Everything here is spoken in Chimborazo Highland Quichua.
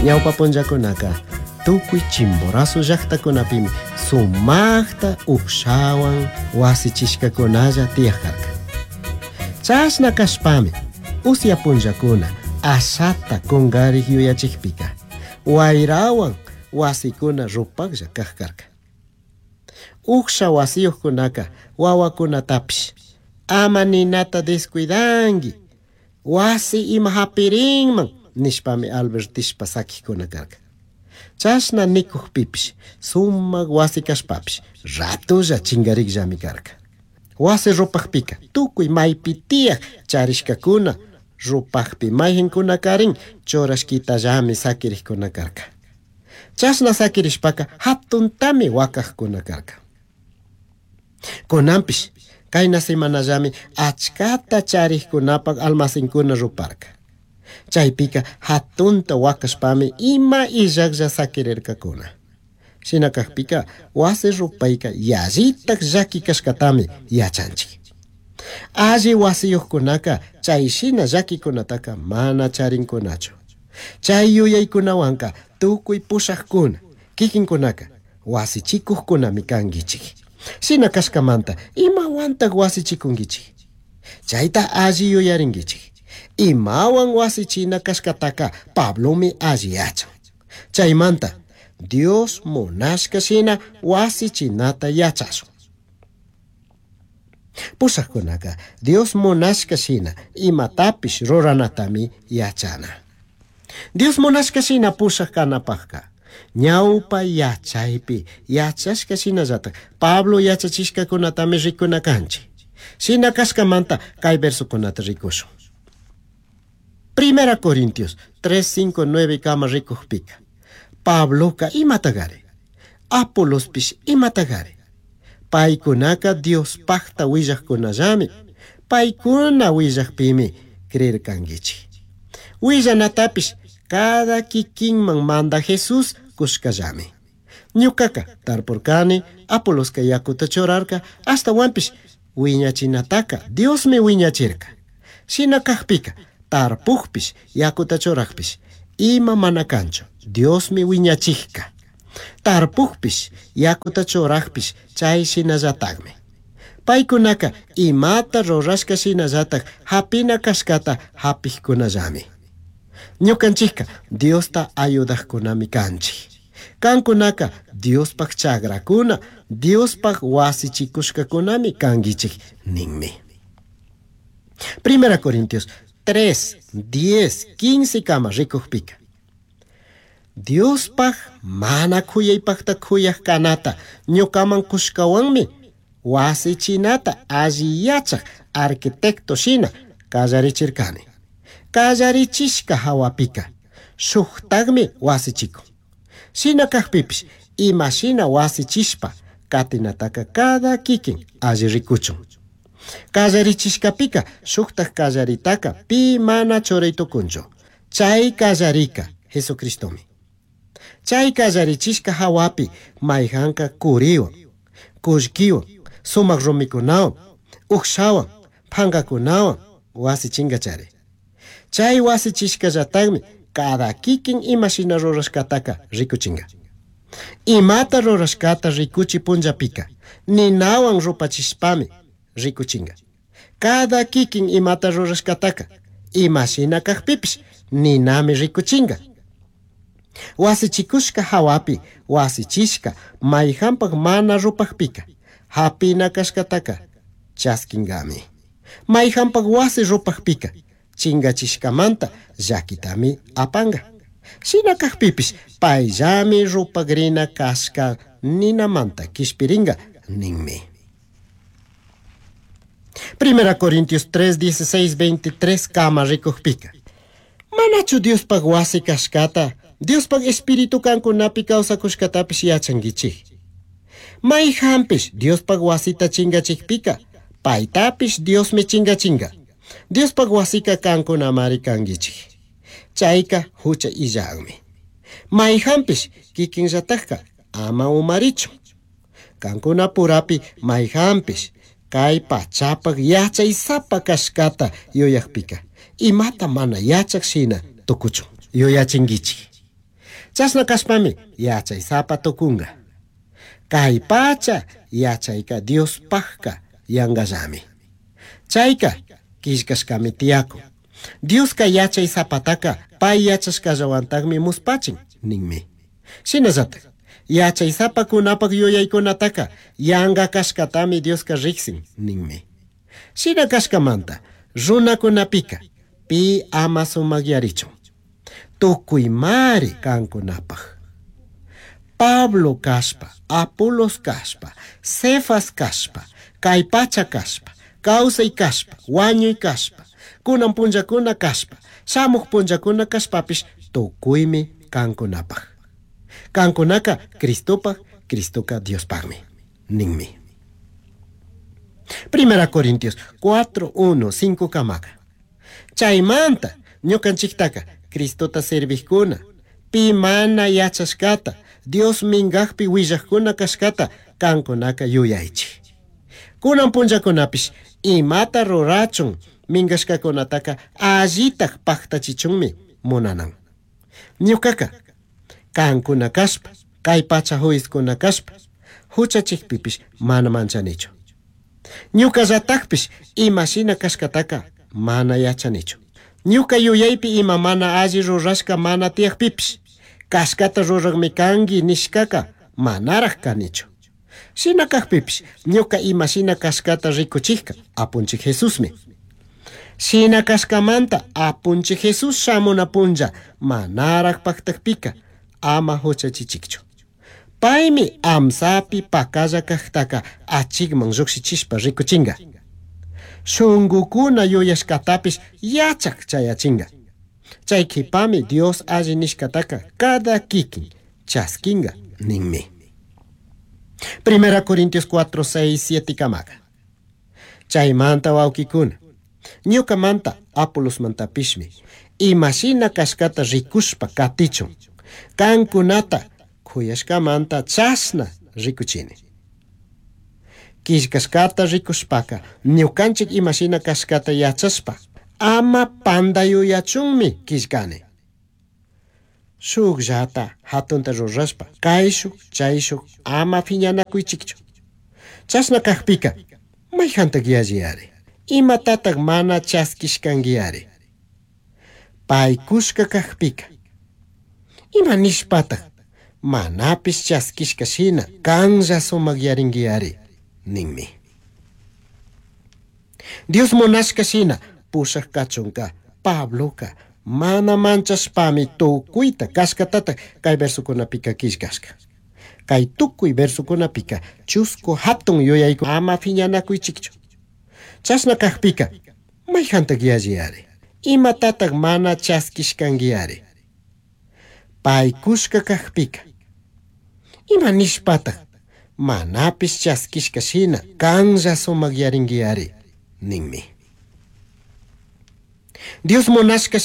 Ñawpa punllakunaka tukuy Chimborazo llaqtakunapimi sumaqta uqshawan wasichishkakunalla tiyaq karka. Chashna kashpami usya punllakuna ashata kungarik yuyachikpika wayrawan wasikuna rupaklla kaq karka. Uqsha wasiyuqkunaka wawakunatapish ama ninata descuidanki, wasi ima hapirinman nishpami albertishpa sakikkuna karka. Chashna nikukpipish sumak wasi kashpapish ratolla chingarikllami karka. Wasi rupakpika tukuy maypi tiyak charishkakuna rupakpi mayqinkunakarin churashkitallami sakirikkuna karka. Chashna sakirishpaka hatuntami wakaqkuna karka. Kunanpish kayna semanallami achkata charikkunapak almacenkuna ruparka. Chaypika hatunta wakashpami ima illaklla sakirirkakuna. Shina kakpika wasi rupayka yallitak llaki kashkatami yachanchik. Alli wasiyuqkunaka chay shina llakikunataka mana charinkunachu. Chay yuyaykunawanka tukuy pushaqkuna kikinkunaka wasichikuqkunami kankichik. Shina kashkamanta imawantaq wasichikunkichik. Chayta alli yuyarinkichik. Imawan wasichina kashkataka Pablomi alli yachan. Chaymanta Dios munashka shina wasichinata yachashun. Pushaqkunaka Dios munashka shina imatapish ruranatami yachana. Dios munashka shina pushaq kanapaqka ñawpa yachaypi yachashka shinallatak Pablo yachachishkakunatami rikuna kanchik. Shina kashkamanta kay versokunata rikushun. Primera Corintios 3, 5, 9 kama rikukpika. Pabloka imatagari, Apolospish imatagari. Paykunaka Diospaqta willaqkunallami, paykuna willaqpimi creerkankichik. Willanatapish cada kikinman manda Jesús kushkallami. Ñukaka tarpurkani, Apoloska yakuta churarka, ashtawanpish wiñachinataka Diosmi wiñachirka. Shina kakpika tarpukpish yakuta churaqpish ima mana kanchu, Diosmi wiñachikka. Tarpukpish yakuta churaqpish chay shinallatakmi. Paykunaka imata rurashka shinallatak hapina kashkata hapikkunallami. Ñukanchikka Diosta ayudaqkunami kanchik. Kankunaka Diospaq chakrakuna, Diospaq wasichikushkakunami kankichik ninmi. Primera Corintios 3, 10, 15 kama rikukpika. Diospaq mana khuyaypaqta khuyaq kanata ñukaman kushkawanmi wasichinata alli yachaq arquitecto shina kallarichirkani. Kallarichishka hawapika shuktaqmi wasichikun. Shina kakpipish ima shina wasichishpa katinataka cada kikin alli rikuchun. Kallarichishkapika shuktaq kallaritaka pi mana churay tukunchu. Chay kallarika Jesucristomi. Chay kallarichishka hawapi mayhanka kuriwan, kullkiwan, sumaq rumikunawan, uqshawan, phankakunawan wasichinkachari. Chay wasichishkallataqmi cada kikin ima shina rurashkataka rikuchinka. Imata rurashkata rikuchi punllapika ninawan rupachishpami rikuchinka. Cada kikin imata rurashkataka ima shina kakpipish ninami rikuchinka. Wasichikushka hawapi wasichishka mayhanpak mana rupakpika hapina kashkataka chaskinkami. Mayhanpak wasi rupakpika chingachishkamanta llakitami apanka. Shina kakpipish payllami rupakrina kashka ninamanta kishpirinka ninmi. Primera Corintios 3, 16, 23 kama rikukpika. Manachu Diospaq wasi kashkata, Diospaq espíritu kankunapi kawsakushkatapish yachankichik. Mayhanpish Diospaq wasita chingachikpika, paytapish Diosmi chingachinka. Diospaq wasika kankunamari kankichik. Chayka hucha illaqmi. Mayhanpish kikinllatakka ama umarichun. Kankunapurapi mayhanpish kay pachapak yachaysapa kashkata yuyakpika, imata mana yachak shina tukuchun yuyachinkichik. Chashna kashpami yachaysapa tukunga. Kay pacha yachayka Diospajka yangallami. Chayka killkashkami tiyakun. Dioska yachaysapataka pay yachashkallawantakmi muspachin ninmi. Shinallatak yachaysapakunapak yuyaykunataka yanga kashkatami Dioska riksin ninmi. Shina kashkamanta runakunapika pi ama sumakyarichun. Tukuymari kankunapaj. Pablo kashpa, Apolos kashpa, Cefas kashpa, kay pacha kashpa, kawsay kashpa, wañuy kashpa, kunan punllakuna kashpa, shamuq punllakuna kashpapish tukuymi kankunapaj. Kankunaka Cristopaj, Cristoka Diospajmi, ninmi. Primera Corintios 4, 1, 5 kamaka. Chaymanta ñukanchiktaka Cristota servijkuna, pi mana yachashkata, Dios minkakpi willajkuna kashkata kankunaka yuyaychik. Kunan punllakunapish imata rurachun minkashkakunataka allitak paktachichunmi munanan. Ñukaka kankuna kashpa, kay pacha juizkuna kashpa, huchachikpipish mana manchanichu. Ñukallatakpish imashina kashkataka mana yachanichu. Ñuka yuyaypi ima mana alli rurashka mana tiyakpipish, kashkata rurakmi kanki nishkaka manaraj kanichu. Shina kakpipish ñuka imashina kashkata rikuchikka Apunchik Jesusmi. Shina kashkamanta Apunchik Jesús shamuna punlla manaraj paktakpika ama huchachichikchu. Paymi amsapi pakalla kaktaka achikman llukshichishpa rikuchinga. Shungukuna yuyashkatapish yachak chayachinga. Chay kipami Dios alli nishkataka cada kikin chaskinga ninmi. Primera Corintios 4, 6, 7 kamaka. Chaymanta wawkikuna, ñukamanta Apolosmantapishmi imashina kashkata rikushpa katichun. Kankunata kuyashkamanta chashna rikuchini. Killkashkata rikushpaka ñukanchik imashina kashkata yachashpa ama pantayuyachunmi killkani. Shukllata hatunta rurashpa kayshuk chayshuk ama phiñanakuychikchu. Chashna kakpika mayhantak yalliyari. Imatatak mana chaskishkankiyari. Paykushka kakpika ima nishpatak manapish chaskishka shina kanlla sumakyarinkiyari ninmi. Dios munashka shina pushak kachunka Pabloka mana manchashpami tukuyta kashkatatak kay versokunapika killkashka. Kay tukuy versokunapika chusku hatun yuyayku ama phiñanakuychikchu. Chashna kakpika mayhantak yalliyari. Imatatak mana chaskishkankiyari. Paykushka kakpika ima nishpatak manapish chaskishka shina kanlla sumakyarinkiyari ninmi. Dios munashka.